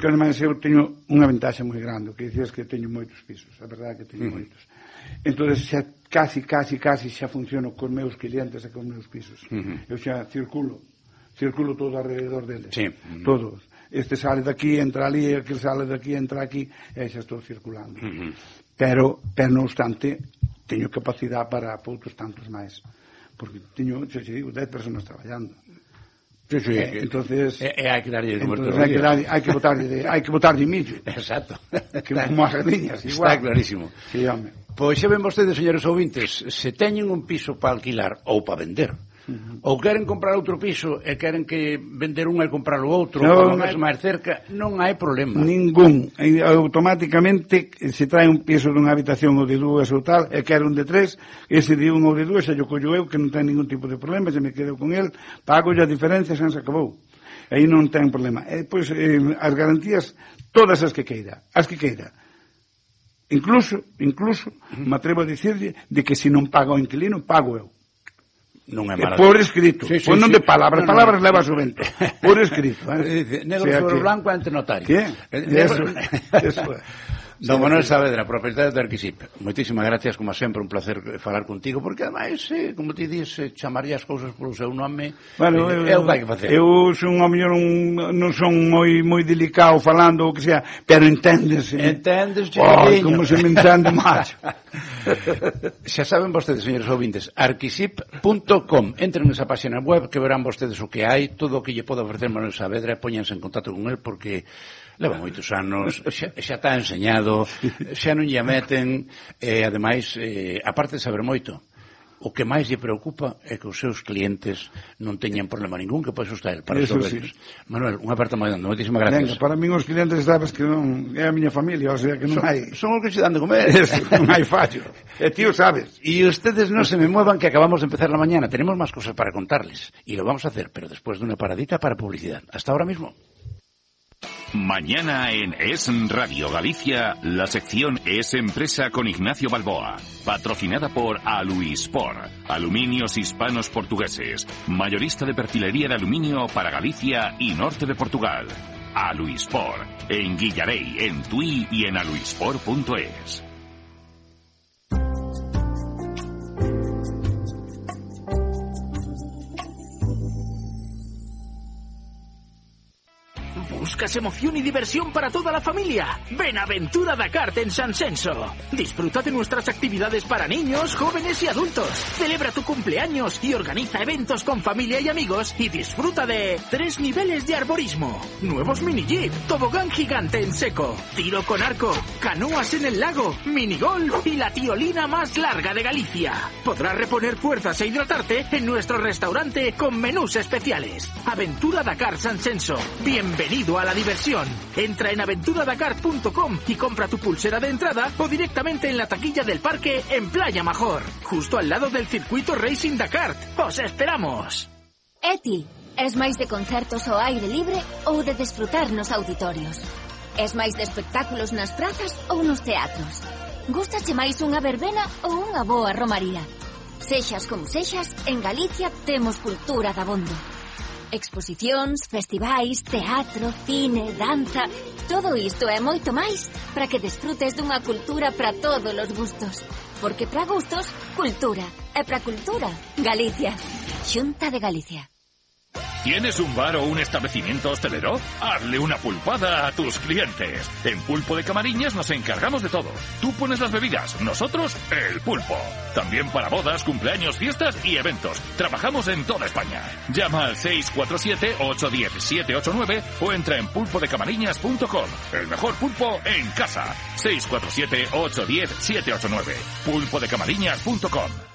Que ademais eu teño unha ventaxa moi grande, que dicías que teño moitos pisos, a verdade é que teño moitos. Entón xa casi xa funciono cos meus clientes e cos meus pisos. Eu xa circulo todo alrededor deles, todos. Este sale daqui, entra ali, aquel sale daqui, entra aquí, e xa estou circulando. Pero non obstante, teño capacidade para outros tantos máis, porque teño, xa te digo, 10 personas traballando. Entonces hai que darlle de comer todos os días. Hai que botarlle millo. Exacto. Como as sardiñas, igual. Está clarísimo. Sí, home. Pois xa ven vostedes, señores ouvintes, se teñen un piso para alquilar ou para vender, ou queren comprar outro piso e queren que vender un e comprar o outro, ou máis cerca, non hai problema. Ningún. Automáticamente se trae un piso dunha habitación ou de dúas ou tal, e quero un de 3, ese de un ou de dúas, xa yo collo eu, que non ten ningún tipo de problema, xa me quedo con el, pago a diferencia, xa se acabou. Aí non ten problema. E, pois, as garantías, todas as que queira. Incluso, me atrevo a dicirlle de que se non paga o inquilino, pago eu. Non é mala. Por escrito, pois non de palabras, palabras leva o vento. Por escrito, negro sobre blanco ante notario. Que? Eso é. Don Manuel Saavedra, propietario de Arquisip, moitísimas gracias, como sempre, un placer falar contigo, porque ademais, como ti dices, chamaría as cousas polo seu nome, é o que hai que facer. Eu son, ao mellor, non son moi delicado falando, o que sea, pero enténdese. Chiquinho. Como se me entende máis. Xa saben vostedes, señores ouvintes, arquisip.com, entren nesa página web que verán vostedes o que hai, todo o que lle pode ofrecer Manuel Saavedra, póñanse en contacto con él, porque leva moitos anos, xa está enseñado, xa non lle meten, e ademais, aparte de saber moito, o que máis lle preocupa é que os seus clientes non teñan problema ningún, que pois está el para resolverlos. Manuel, unha aperta moi grande, moitísimas gracias. Para min os clientes sabes que non é a miña familia, o sea que non hai... Son os que se dan de comer. Non hai fallo. E tío sabes. E ustedes non se me muevan, que acabamos de empezar la mañana. Tenemos máis cosas para contarles. E lo vamos a hacer, pero después de una paradita para publicidad. Hasta ahora mismo. Mañana en Es Radio Galicia, la sección Es Empresa con Ignacio Balboa, patrocinada por Aluispor, Aluminios Hispanos Portugueses, mayorista de perfilería de aluminio para Galicia y norte de Portugal. Aluispor, en Guillarey, en Tui y en aluispor.es. ¿Buscas emoción y diversión para toda la familia? Ven a Aventura Dakar en San Censo. Disfruta de nuestras actividades para niños, jóvenes y adultos. Celebra tu cumpleaños y organiza eventos con familia y amigos y disfruta de 3 niveles de arborismo, nuevos mini jeep, tobogán gigante en seco, tiro con arco, canoas en el lago, minigolf y la tiolina más larga de Galicia. Podrás reponer fuerzas e hidratarte en nuestro restaurante con menús especiales. Aventura Dakar San Censo. Bienvenido a la diversión. Entra en aventuradakar.com y compra tu pulsera de entrada o directamente en la taquilla del parque en Playa Major, justo al lado del circuito Racing Dakar. ¡Os esperamos! Eti, es máis de concertos ao aire libre ou de desfrutar nos auditorios? Es máis de espectáculos nas prazas ou nos teatros? Gústache máis unha verbena ou unha boa romaría? Sexas como sexas, en Galicia temos cultura dabondo. Exposicións, festivais, teatro, cine, danza... Todo isto e moito máis para que desfrutes dunha cultura para todos os gustos. Porque para gustos, cultura. E para cultura, Galicia. Xunta de Galicia. ¿Tienes un bar o un establecimiento hostelero? Hazle una pulpada a tus clientes. En Pulpo de Camariñas nos encargamos de todo. Tú pones las bebidas, nosotros el pulpo. También para bodas, cumpleaños, fiestas y eventos. Trabajamos en toda España. Llama al 647-810-789 o entra en pulpodecamariñas.com. El mejor pulpo en casa. 647-810-789. pulpodecamariñas.com.